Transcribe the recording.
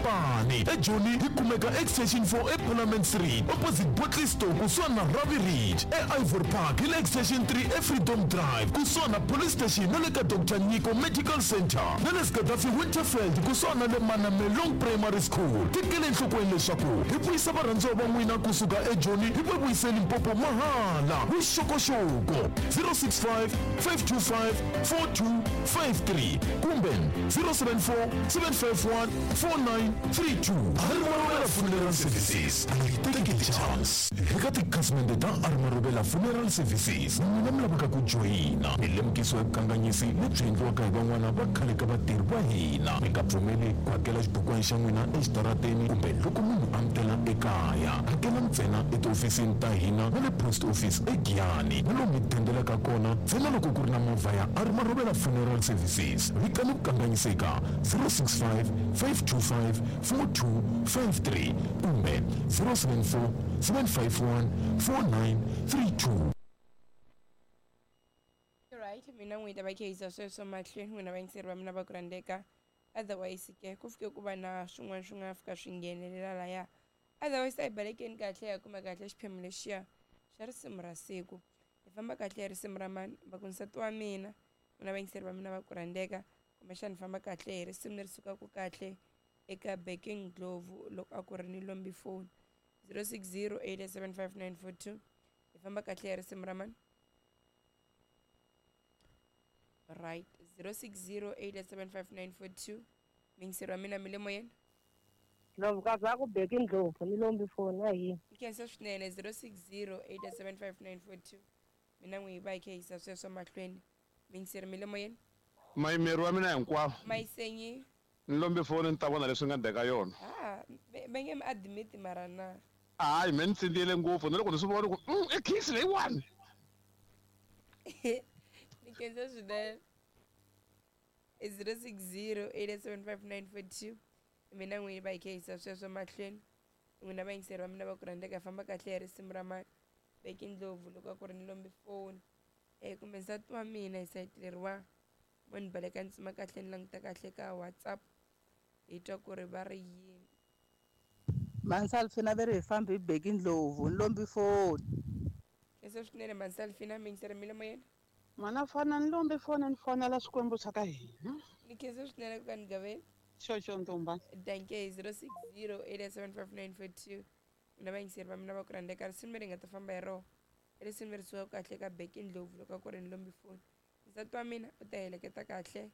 Mabopane. Ejoni hi kumeka Extension 4 eParliament Street, opposite Bottle Store kusuhani na Ravi Ridge. EIvory Park hi le Extension 3 eFreedom Drive kusuhani na Police Station na le ka Dr Nyiko Medical Center, na le Gaddafi Winterfeld kusuhani na le Manamelong Primary School. Tekela enhlokweni leswaku hi vuyisa varhandziwa va n'wina kusuka eJoni hi va vuyise Limpopo mahala. Vuxokoxoko 065 525 4253 kumbe 074 751 4932. Armarobela Funeral Services, a yi teki chance. Eka tikhasimende ta Armarobela Funeral Services, n'wina mi lavaka ku joyina, mi lemukisiwa hi vukanganyisi lebyi endliwaka hi van'wana va khale ka vatirhi va hina. Mi nga pfumeli ku hakela xibukwana xa n'wina exitarateni kumbe loko munhu a mi tela ekaya. Hakela ntsena etihofisini ta hina na le post office eGiyani, na lomu mi dendelaka kona ntsena loko ku ri na movha ya Armarobela Funeral Services. Vitani ku kanganyiseka 065 525 4253 kumbe 074 751 4932. Right, mina n'wi ta va khehisa sweswo mahlweni, n'wina vayingiseri va mina va ku rhandzeka. Otherwise ke ku fike ku va na swin'wana swi nga fika swi nghenelela laya. Otherwise a hi balekeni kahle, hi ya kuma kahle xiphemu lexiya xa risimu ra siku. Hi famba kahle hi risimu ra mani? Va ku nsati wa mina, n'wina vayingiseri va mina va ku rhandzeka, kumbexana hi famba kahle hi risimu leri sukaka kahle eka Backing Ndlovu loko a ku ri ni lombi phone. 060 875 942. Hi famba kahle hi risimu ra mani? Right, 060 875 942. Miyingiseri wa mina, mi le moyeni. Ndlovu ka va ku Beki Ndlovu ni lombi foni a yini. Nkhensa swinene. 060 875 942, mina n'wi hi va hi kha hisa sweswo mahlweni. Miyingiseri, mi le moyeni. Mayimeri wa mina hinkwavo. Mayisenyi. Ni lombi foni ni ta vona leswi nga ndeka yona. Ha va nge mi admit mara na. Hayi, me ni tsindziyele ngopfu na loko ni swi vona ku i khisi leyiwani. Ni khensa swinene. 060 875 942, mina n'wini va hi kha hisa sweswo mahlweni. N'wina vayingiseri va mina va ku rhandzeka, hi famba kahle hi risimu ra mani? Beki Ndlovu loko a ku ri ni lombi foni, kumbe nsati wa mina hi sayiti leriwa. Mo ni baleka ni tsima kahle, ni languta kahle ka WhatsApp, hi twa ku ri va ri yini. Mansalfina ve ri hi fambi hi Beki Ndlovu ni lombi foni. Khensa swinene Mansalfina. Miyingiseri, mi le moyeni. N'wana fana ni lombi foni ni fonela Xikwembu xa ka hina. Ni khensa swinene ku ka ni gaveni. Xoxo ntumba. Danke. 060 875 942, mina vayingiseri va mina va ku rhandzeka, risimu leri nga ta famba hi rona i risimu leri sukaka kahle ka Beki Ndlovu loko a ku ri ni lombi foni. Nsati wa mina u ta heleketa kahle.